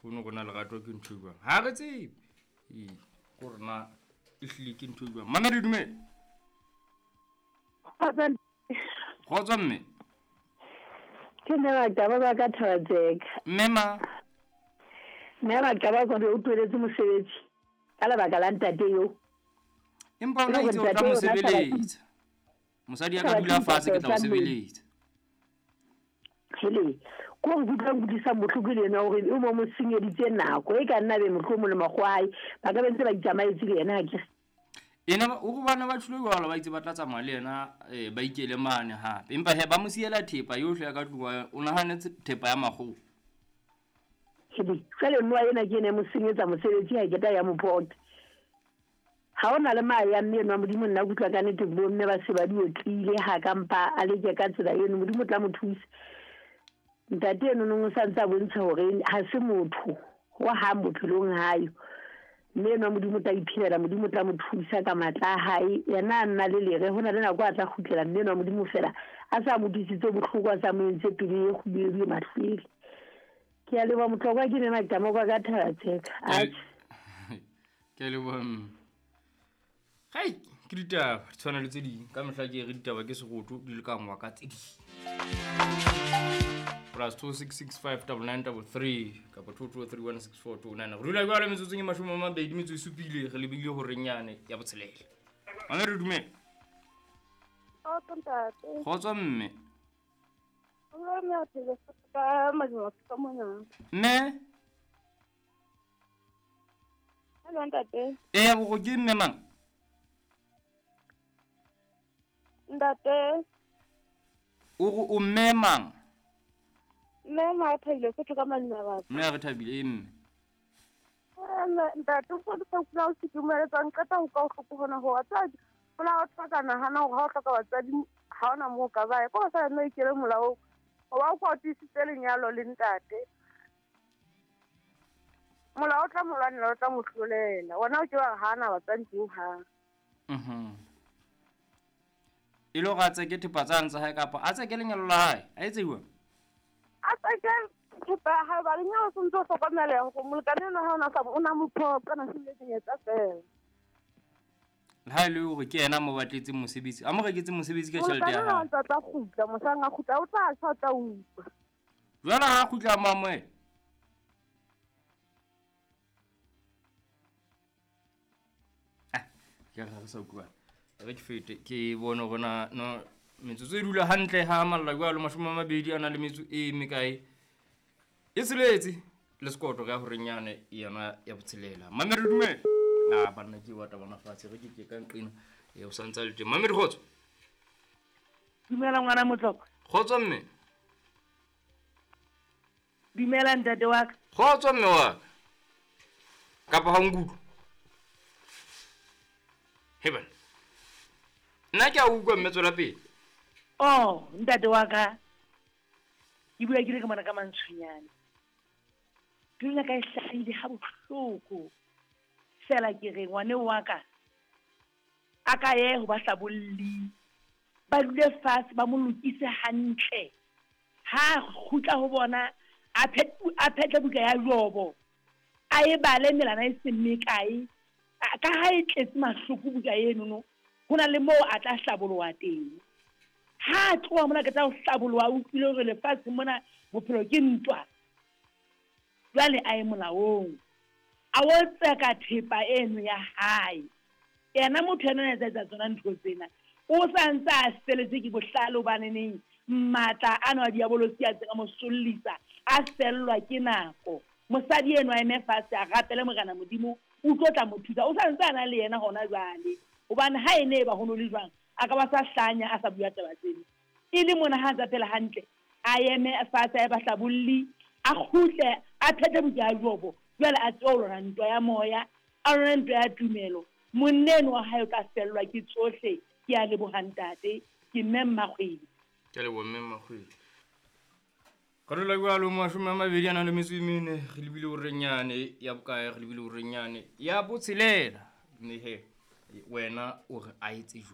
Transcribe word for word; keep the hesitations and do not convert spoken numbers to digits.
Ke bone rona lerato ke ntho e jwang. Ha re tsebe. Ee, ko rona e hlile ke ntho e jwang. Mamedi dumela. Kgotso mme. Ke mme Maqaba ba ka Thabatseka. Mme ma. Mme Maqaba ko o tweletse mosebetsi ka lebaka la ntate yo. Empa ona itse o tla mo sebeletsa. Mosadi ya ka dula fatshe ke tla o sebeletsa. Hele, ko re kutlwang kutlwisang bohloko le yena hore o mo mo senyeditse nako e ka nna be mohlomong le makgwai ba ka be ntse ba itsamaetse le yena akere. Ena o go bana ba tshilo jwalo ba itse ba tla tsamaya le yena eh ba ikele mane hape. Empa he ba mo siela thepa yohle ya ka tlung, o nahanetse thepa ya makgowa. Hele, jwale nwa ena ke ene mo senyetsa mosebetsi ha ke ta ya mo pota. Ha ona le mae ya mme enwa Modimo nna kutlwa ka nnete bo mme ba se ba di otlile ha ka mpa a leke ka tsela eno Modimo tla mo thusa. Ntate eno no sa ntse a bontsha hore ha se motho wa ha bophelong hayo. Mme enwa Modimo tla iphelela, Modimo tla mo thusa ka matla a hae. Yena a nna le lere hona le nako a tla kgutlela mme enwa Modimo fela a sa mo utlwisitse bohloko a sa mo entse pelo e kgubedu e mahlwele. Ke a leboha Motlokwa, ke mme Maqama kwa ka Thabatseka. Ke a leboha mme. Hai, ke ditaba di tshwana le tse ding. Ka mehla ke re ditaba ke seroto di lekangwa ka tse ding. Plus two six six five double nine double three kapa two two three one six four two nine. Re dula jwale metsotsong e mashome a mabedi metso e supile re lebile horeng yane ya botshelela. Mme re dumela. Kgotso ntate. Kgotso mme. Mme ka madimo ka mona. Mme. Hello ntate. Eh go ke mme mang? Ntate. O go o mme mang? Mme ma thabile se ka malina batho. Mme re thabile mme. Mme ntate o go tla o se dumeletsang qeta ho ka o hloka bona ho batswadi. Hola o tlhoka nahana hore ha o hloka batswadi ha ona moo ka ba ya. Ko sa nna ikele molao. O ba o kwatisitse lenyalo le ntate. Molao o tla mo lwanela o tla mo hlolela. Wena o ke wa hana batswadi ho hang. Mhm. E lo ga tse ke thepa tsa ntse hae kapa a tse ke lenyalo la hae a etse jwang? A tse ke thepa ha ba lenyalo se ntse o hlokomela hore molekane ena ha ona sa o na mo phoqa na se lenyetsa fela. Le ha le hore ke yena mo batletseng mosebetsi a mo reketse mosebetsi ka tjhelete ya hae. Molekane o tla kgutla mohlang a kgutla o tla tjha tla utlwa. Jwale ha kgutla mo amohela. Ah, ke re sa utlwa. Re ke fete ke bone rona no metsotso e dula hantle ha malla jwalo mashome a mabedi a na le metso e mekae e tsheletse le sekoto ka horeng yane yona ya botshelela. Mamedi dumela. Ah banna ke wa tabana fatshe re ke ke ka nqina e o santsa le teng. Mamedi kgotso. Dumela ngwana Motlokwa. Kgotso mme. Dumela ntate wa ka. Kgotso mme wa ka. Kapa ha nkutlwa. He bana. Nna ke a utlwa mme tswela pele. Oh, ntate wa ka. Ke bua ke le ka mona ka mantshonyane. Pelo ya ka e hlahile ha bohloko. Fela ke re ngwane wa ka a ka ye ho ba hlabolli. Ba dule fatshe ba mo lokise hantle. Ha kgutla ho bona a a phetle buka ya Jobo. A e bale melana e seng mekae. Ka ha e tletse mahloko buka eno no. Hona le moo a tla hlaboloha teng. Ha tloha mona ke tla ho hlaboloha o utlwile hore lefatshe mona bophelo ke ntwa. Jwale a ye molaong. A o tseka thepa eno ya hae. Yena motho ena a etsa tsona ntho tsena. O sa ntse a feletse ke bohlale hobaneneng matla ano a diabolosi a tseka mo sollisa a fellwa ke nako. Mosadi eno a eme fatshe a rapele Morena Modimo o tlo tla mo thusa. O sa ntse a na le yena hona jwale. Hobane ha ene e ba ho no le jwang a ka ba sa hlanya a sa bua taba tsena. E le mona ha ntse phela hantle a eme fatshe a ba hlabolli a kgutle a phethe buka ya Jobo. Jwale a tswe ho lwana ntwa ya moya a lwana ntwa ya tumelo. Monna eno wa hae o tla fellwa ke tsohle. Ke a leboha ntate. Ke mme Mmakgwedi. Ke a leboha mme Mmakgwedi. Ka dula jwalo mashome a mabedi a nang le metso e mene re lebile horeng yane ya bokae re lebile horeng yane ya botshelela. Mme he wena o re a etse jwang?